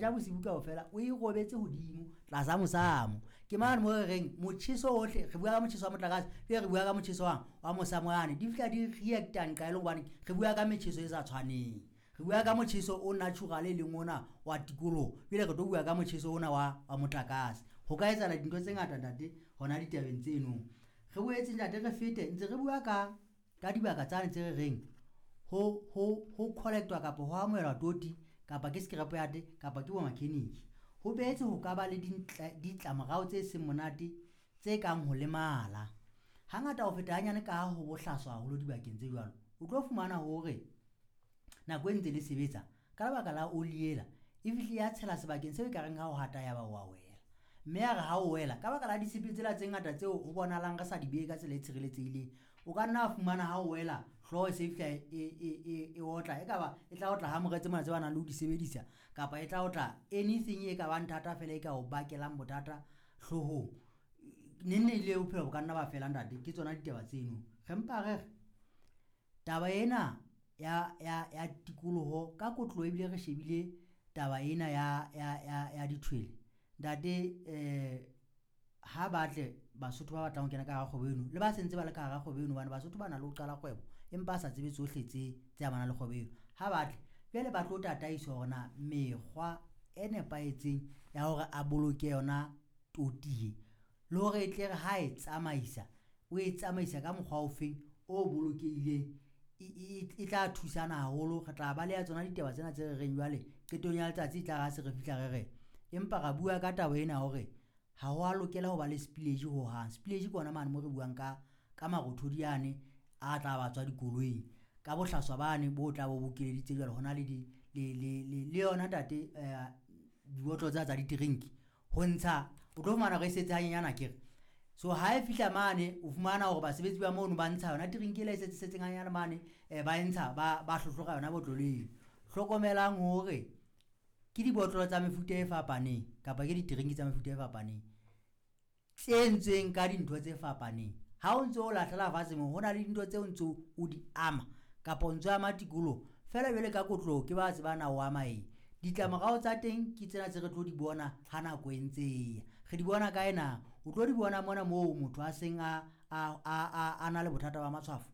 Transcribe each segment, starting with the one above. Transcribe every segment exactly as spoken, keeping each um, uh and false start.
Ja bosibu kaofela o e robetse hodimo tlasa mosamo. Ke mane mo re reng motjheso ohle, re bua ka motjheso wa motlakase, pele re bua ka motjheso wa wa mosamo yane, di fihla di react-a nqa e le hobane re bua ka metjheso e sa tshwaneng. Re bua ka motjheso o natural e leng ona wa tikoloho, pele re tlo bua ka motjheso ona wa wa motlakase. Ho ka etsahala dintho tse ngata ntate hona ditabeng tseno. Re boetse ntate re fete ntse re bua ka ka dibaka tsane tse re reng ho ho ho collect-wa kapa ho amohelwa toti kapa ke scrap yard kapa ke bo mechanic. Ho boetse ho ka ba le ditlamorao tse seng monate tse kang ho lemala. Hangata ho feta hanyane ka ha ho bohlaswa haholo dibakeng tse jwalo, o tlo fumana hore nako e ntse le sebetsa ka lebaka la oli ela e fihle ya tshela sebakeng seo ekareng ha o hata ya ba wa wela, mme ya re ha o wela ka baka la ditshepe tsela tse ngata tseo ho bonahalang re sa di behe ka tsela e tshireletsehileng, o ka nna wa fumana ha o wela hlooho e se e fihla e e e e otla, e ka ba e tla otla hamore tse mona tse ba nang le ho di sebedisa, kapa e tla otla anything e ka bang thata fela e ka o bakelang bothata hloohong. Neng neng le bophelo bo ka nna ba fela ntate, ke tsona ditaba tseno. Re mpa re re taba ena ya ya ya tikoloho ka kotlo ebile re shebile taba ena ya ya ya ya dithwele ntate. Eh ha batle Basotho ba batlang ho kena ka hara kgwebo eno le ba sentse ba le ka hara kgwebo eno, hobane Basotho ba na le ho qala kgwebo empa a sa tsebe tsohle tse tse amanang le kgwebo eno. Ha batle jwale ba tlo tataiswa hore na mekgwa e nepahetseng ya hore a boloke yona toti e, le hore e tle re ha e tsamaisa o e tsamaisa ka mokgwa ofeng o bolokehileng, e e tla thusana haholo. Re tla baleha tsona ditaba tsena tse re reng jwale qetong ya letsatsi e tla re ha se re fihla re re empa ra bua ka taba ena hore ha ho a lokela ho ba le spillage hohang. Spillage ke ona mane mo re buang ka ka marothodi ane a tla ba tswa dikoloing ka bohlaswa bane bo tla bo bokeleditse jwale hona le di le le le le yona ntate eh dibotlolo tsa tsa ditrenki ho ntsha o tlo fumana hore e setse hanyenyana akere. So ha e fihla mane o fumana hore basebetsi ba mono ba ntsha yona trenki ela e setse setseng hanyane mane, eh ba e ntsha ba ba hlohlora yona botlolo eo. Hlokomelang hore ke dibotlolo tsa mefuta e fapaneng kapa ke ditrenki tsa mefuta e fapaneng tse entsweng ka dintho tse fapaneng. Ha o ntso o lahlela fatshe moo ho na le dintho tseo ntso o di ama kapa o ntso ama tikoloho fela jwale ka kotloho ke ba tseba na o ama eng. Ditlamorao tsa teng ke tsena tse re tlo di bona ha nako e ntse e ya. Re di bona kae na? O tlo di bona mona moo motho a seng a a a a na le bothata ba matshwafo,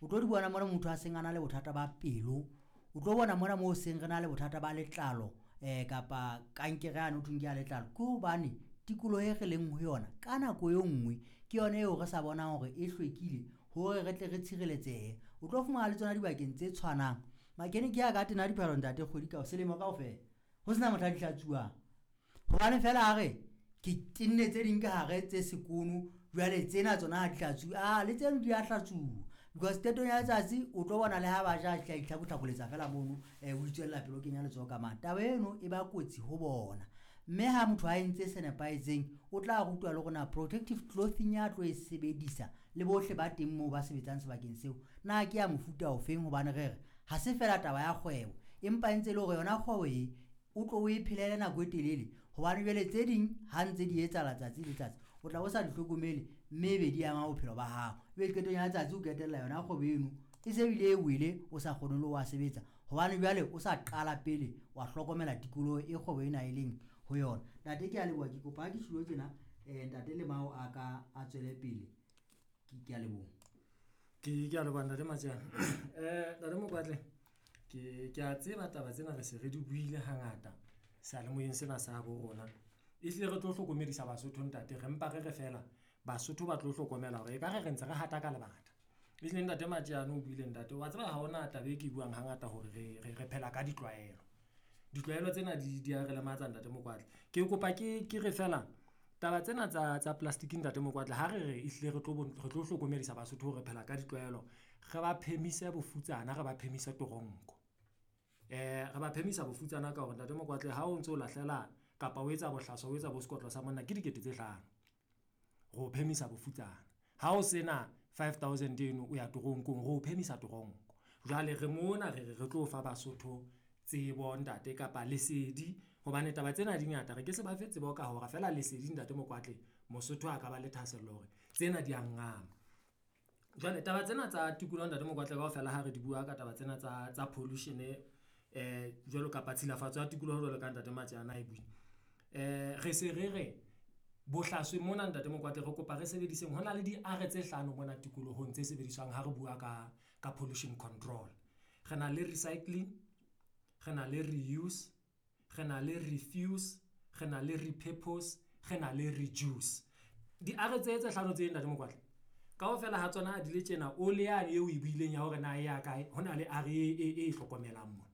o tlo di bona mona motho a seng a na le bothata ba pelo, o tlo bona mona moo seng re na le bothata ba letlalo eh kapa kankere yane ho thweng ke ya letlalo. Ke hobane tikoloho e re leng ho yona ka nako e nngwe ke yona eo re sa bonang hore e hlwekile hore re tle re tshireletsehe. O tlo fumana le tsona dibakeng tse tshwanang makeniki a ka tena diphahlo ntate kgwedi ka selemo kaofela ho sena motho a di hlatsuwang, hobane fela a re ke tenne tse ding ka hare tse sekono jwale tsena tsona ha di hlatsuwe. Ah, le tseno di a hlatsuwa because qetong ya letsatsi o tlo bona le ha ba ja tla itlhakohlakoletsa fela mono, eh o itswella pele o kenya letsoho ka mane. Taba eno e ba kotsi ho bona, mme ha motho a entse se nepahetseng o tla rutwa le hore na protective clothing ya tlo e sebedisa le bohle ba teng moo ba sebetsang sebakeng seo na ke ya mofuta ofeng, hobane re re ha se fela taba ya kgwebo empa e ntse e le hore yona kgwebo e o tlo o e phelele nako e telele, hobane jwale tse ding ha ntse di etsahala tsatsi le tsatsi o tla bo sa di hlokomele mme ebe di ama bophelo ba hao. Ebe qetong ya letsatsi o qetella yona kgwebo eno e se bile e wele o sa kgone le ho wa sebetsa, hobane jwale o sa qala pele wa hlokomela tikoloho e kgwebo ena e leng ho yona. Ntate ke a leboha, ke kopa ha ke tjhulo tjena eh ntate Lemao a ka a tswele pele. Ke ke a leboha. Ke ke a leboha ntate Matjana. Eh ntate Mokwatle, ke ke a tseba taba tsena re se re di buile hangata seyalemoyeng sena sa bo rona. Ehlile re tlo hlokomedisa Basotho ntate, re mpa re re fela Basotho ba tlo hlokomela hore ekare re ntse re hata ka lebata. Ehlile ntate Matjana o buile ntate, wa tseba ha hona taba e ke buang hangata hore re re re phela ka ditlwaelo. Ditlwaelo tsena di di a re lematsa ntate Mokwatle. Ke kopa ke ke re fela taba tsena tsa tsa plastic ntate Mokwatle, ha re re ehlile re tlo re tlo hlokomedisa Basotho hore re phela ka ditlwaelo, re ba phemise bofutsana, re ba phemise toronko. Eh re ba phemisa bofutsana ka hore ntate Mokwatle ha o ntso lahlela kapa o etsa bohlaswa, o etsa bo sekotlo sa monna ke dikete tse hlano. Re o phemisa bofutsana. Ha o sena five thousand eno o ya toronkong, re o phemisa toronko. Jwale re mona re re re tlo fa Basotho tsebo ntate kapa lesedi hobane taba tsena di ngata. Re ke se ba fe tsebo ka hora feela lesedi ntate Mokwatle. Mosotho a ka ba le thahasello hore tsena di a ngama. Jwale taba tsena tsa tikoloho ntate Mokwatle kaofela ha re di bua ka taba tsena tsa tsa pollution eh jwalo kapa tshilafatso ya tikoloho jwalo ka ntate Matjana e buile. Eh re se re re bohlaswe mona ntate Mokwatle re kopa re sebediseng hona le di-R tse hlano mona tikolohong tse sebediswang ha re bua ka ka pollution control. Re na le recycling, re na le reuse, re na le refuse, re na le repurpose, re na le reduce. Di-R tse tse hlano tse ntate Mokwatle kaofela ha tsona di le tjena o le yane eo e buileng ya hore na e ya kae hona le R e e e hlokomelang mona.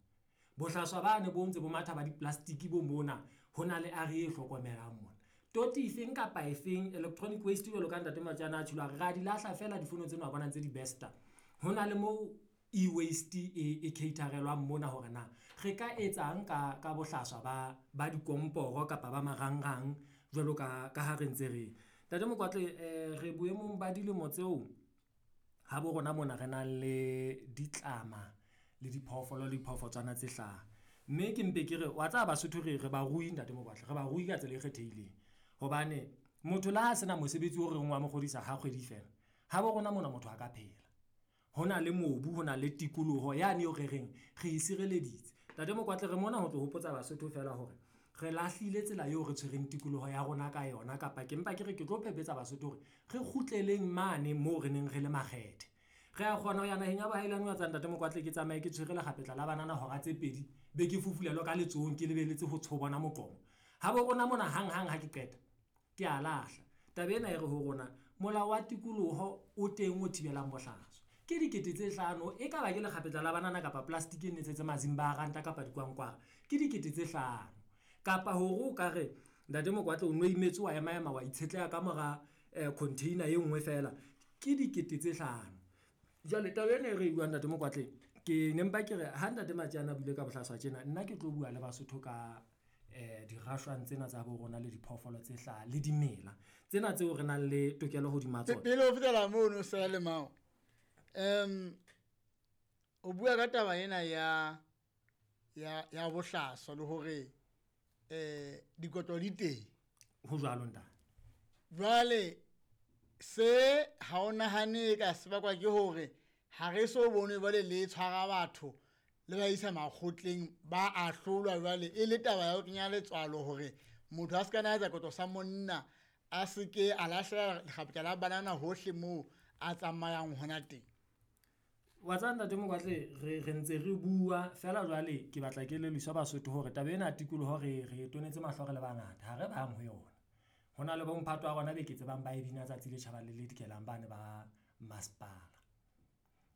Bohlaswa bane bo ntse bo matha ba di-plastic bo mona hona le R e hlokomelang mona. Toti efeng kapa efeng electronic waste jwalo ka ntate Matjana a tjholo re a di lahla fela difono tsena wa bona ntse di besta. Hona le mo e-waste e e caterelwang mona hore na re ka etsang ka ka bohlaswa ba ba dikomporo kapa ba marangrang jwalo ka ka ha re ntse re. Ntate Mokwatle eh re boemong ba dilemo tseo ha bo rona mona re nang le ditlama le diphoofolo le diphoofotshwana tse hlaha. Mme ke mpe ke re wa tseba Basotho re re barui ntate Mokwatle, re barui ka tsela e kgethehileng. Hobane motho le ha sena mosebetsi o reng wa mo kgodisa ha kgwedi fela, ha bo rona mona motho a ka phela. Hona le mobu, hona le tikoloho yane eo re reng re e sireleditse. Ntate Mokwatle re mona ho tlo hopotsa Basotho fela hore re lahlile tsela eo re tshwereng tikoloho ya rona ka yona, kapa ke mpa ke re ke tlo phephetsa Basotho hore re kgutleleng mane moo re neng re le makgethe. Re a kgona ho ya naheng ya bohailane wa tsa ntate Mokwatle ke tsamaye ke tshwere lekgapetla la banana hora tse pedi, be ke fufulelwa ka letsohong ke lebeletse ho tshobona moqomo. Ha bo rona mona hang hang ha ke qeta ke a lahla. Taba ena e re ho rona molao wa tikoloho o teng o thibelang bohlaswa. Ke dikete tse hlano, e ka ba ke lekgapetla la banana kapa plastic e netsetse mazimba a ranta kapa dikwankwara, ke dikete tse hlano. Kapa hore o ka re ntate Mokwatle o no imetswe wa ema ema wa itshetleha ka mora container e nngwe fela, ke dikete tse hlano. Jwale taba ena e re buang ntate Mokwatle, ke ne mpa ke re ha ntate Matjana a buile ka bohlaswa tjena, nna ke tlo bua le Basotho ka eh dirashwang tsena tsa bo rona le diphoofolo tse hlaha le dimela tsena tseo re nang le tokelo hodima tsona. Pele o fetela mono sa le mao. Em o bua ka taba ena ya ya ya bohlaswa le hore eh dikotlo di teng. Ho jwalo ntate. Jwale se ha o nahane ka sebakwa ke hore ha re so bone jwale le tshwara batho le ba isa makgotleng ba ahlolwa jwale e le taba ya ho kenya letswalo hore motho a se ka na etsa kotlo sa monna a se ke a lahlela lekgapetla la banana hohle moo a tsamayang hona teng. Wa tseba ntate Mokwatle re re ntse re bua fela jwale ke batla ke lelisa Basotho hore taba ena ya tikoloho re re tonetse mahlo re le bangata, ha re bang ho yona. Hona le bomphato wa rona be ke tsebang ba e bina tsatsi le tjhabang le le dikelang bane ba masepala.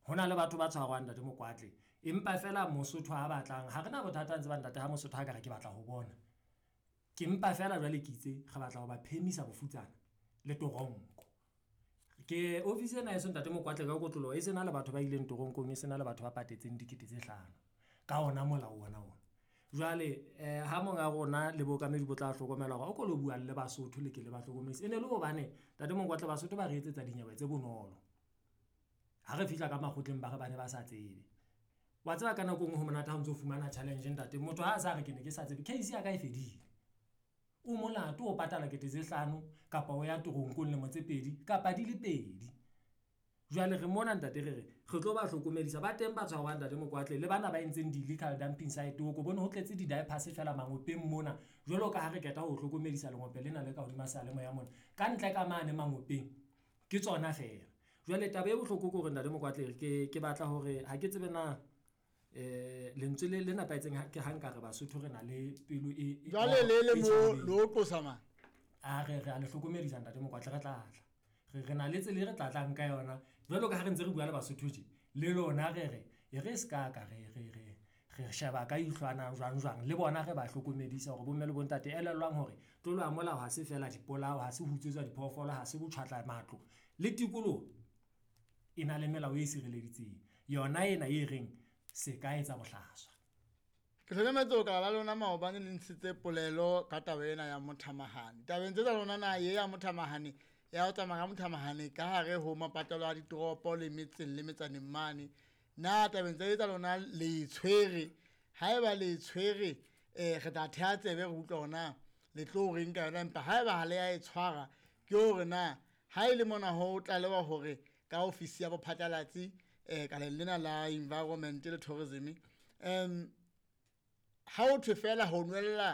Hona le batho ba tshwarwang ntate Mokwatle, empa fela Mosotho ha batlang, ha rena bothata ntse ba ntate ha Mosotho ha ka re ke batla ho bona. Ke mpa fela jwale ke itse re batla ho ba phemisa bofutsana le toronko. Ke office ena eso ntate Mokwatle ka kotloloho e sena le batho ba ileng toronkong, e sena le batho ba patetseng dikete tse hlano ka ona molao ona ona. Jwale eh ha monga rona le bookamedi bo tla hlokomela hore o ko lo bua le Basotho le ke le ba hlokomedise. E ne le hobane ntate Mokwatle Basotho ba re etsetsa dinyewe tse bonolo. Ha re fihla ka makgotleng ba re bane ba sa tsebe. Wa tseba ka nako e nngwe ho monate ha o ntso fumana challenge ntate, motho ha a sa re ke ne ke sa tsebe, case ya ka e fedile. O molato o patala kete tse hlano kapa o ya toronkong lemo tse pedi kapa di le pedi. Jwale re mona ntate re re re tlo ba hlokomedisa ba teng ba tshwarwang ntate Mokwatle le bana ba entseng di-illegal dumping site o ko bone ho tletse di-diapers fela mangopeng mona jwalo ka ha re qeta ho hlokomedisa lengope lena le ka hodima seyalemoya mona ka ntle ka mane mangopeng ke tsona fela. Jwale taba e bohloko ke hore ntate Mokwatle ke ke batla hore ha ke tsebe na eh lentswe le le nepahetseng ke ha nka re Basotho re na le pelo e jwale le le mo lo qosa mang a re re a le hlokomedisa ntate Mokwatle re tla tla re re na le tsela e re tla tlang ka yona jwalo ka ha re ntse re bua le Basotho tje le lona re re e re ska ka re re re re sheba ka ihlwana jwang jwang le bona re ba hlokomedisa hore bomme le bontate elellwang hore tlolo ya molao ha se fela dipolao, ha se hutswetswa diphoofolo, ha se botjhwatla matlo le tikoloho e na le melao e sireleditseng yona ena e reng se ka etsa bohlaswa. Ke hlokometse ho ka la lona maobane le ntshitse polelo ka taba ena ya mothamahane. Tabeng tse tsa lona na ye ya mothamahane ya ho tsamaya ka mothamahane ka hare ho mapatelo a ditoropo le metseng le metsaneng mane. Na tabeng tse tsa lona le tshwere, haeba le tshwere eh re tla theha tsebe re utlwa hore na le tlo reng ka yona, empa haeba ha le ya e tshwara ke hore na ha e le mona ho tlalewa hore ka ofisi ya bophatlalatsi eh ka lena la environment le tourism em Ha o thwe fela ho nwella